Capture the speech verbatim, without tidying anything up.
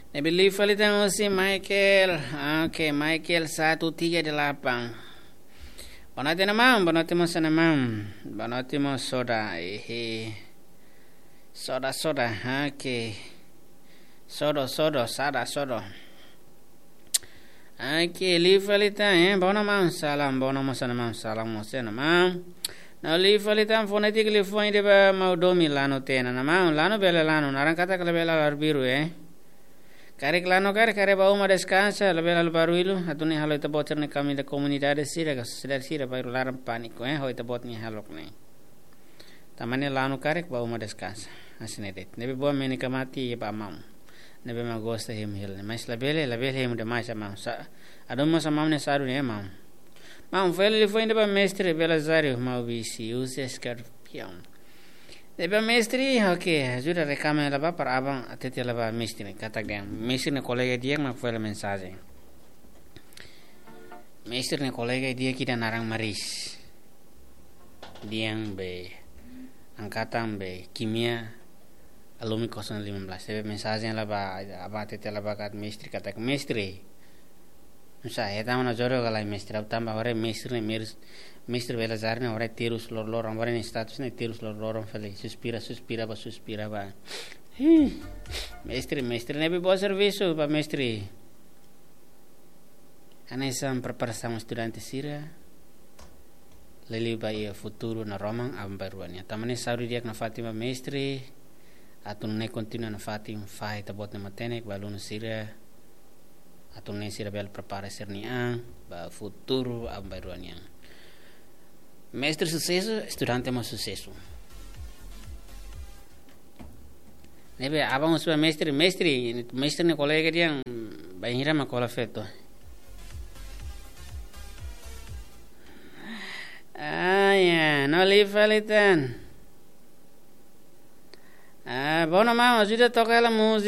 Ne'ebé liu fali tan husi Michael. Oke, Michael satu tiga delapan. Boa noite, maun. Boa noite, maun. Boa noite, maun Soda. Ehe. Soda, Soda. Oke. Sodo, Sodo, Sada, Sodo. Oke, liu fali tan, eh. Boa noite, maun. Salam, boa noite, maun. Salam, maun. Salam, maun. Ne'ebé liu fali tan, fonétika liafuan ida ba maun Domi, lanu tiha ona, maun. Lanu bele lanu, naran katak labele arbiru, eh. Karik lanu karik, karik bá uma deskansa, labele halo barullu, atu nune'e halo ita-boot sira-nia kaminda komunidade sira, ka sosiedade sira, bainhira laran pániku, eh, ho ita-boot nia hahalok ne'e. Tanba ne'e lanu karik bá uma deskansa. Hanesan ne'e de'it. Ne'ebé boa meni kamati iha ba maun. Ne'ebé mak gosta hemu hela ne'e. Mas labele, labele hemu demais maun. Sa, adu mós maun ne'e sadu ne'e maun. Maun, fali liafuan ida ba mestre Belizario, maun Bisi, uza eskorpiaun. Ne'ebé mestre, oke, ajuda reklama hela ba para aban hatete hela ba mestre, katak dehan mestre nia kolega di'ak mak fó hela mensajen. Mestre nia kolega di'ak ida naran Maris. Dehan be angkatan be kimia alumni kosong lima belas. Ne'ebé mensajen hela ba, aban hatete hela ba katak mestre, katak mestre. Nusá, hetan ona jodoh ka lae mestre, ha'u tanba haree mestre ne'e, mestre Belizario ne'e haree terus loroloron, haree nia status ne'e terus loroloron fali, suspira, suspira bá, suspira bá. Ih, mestre, mestre ne'ebé boa servisu ba mestre. Hanesan preparasaun estudante sira, liuliu ba iha futuru naroman aban-bainrua nian. Tanba ne'e saúde di'ak nafatin ba mestre, atu nune'e kontinua nafatin fahe ita-boot nia matenek ba alunu sira, atu nune'e sira bele prepara sira-nia an ba futuru aban-bainrua nian. Mestre susesu, estudante mós susesu. Ne'ebé aban husu ba mestre, mestre, mestre nia kolega dehan bainhira mak hola feto. Ah, ya, no liu fali tan. Ah, boa noite, maun, ajuda toka hela múzika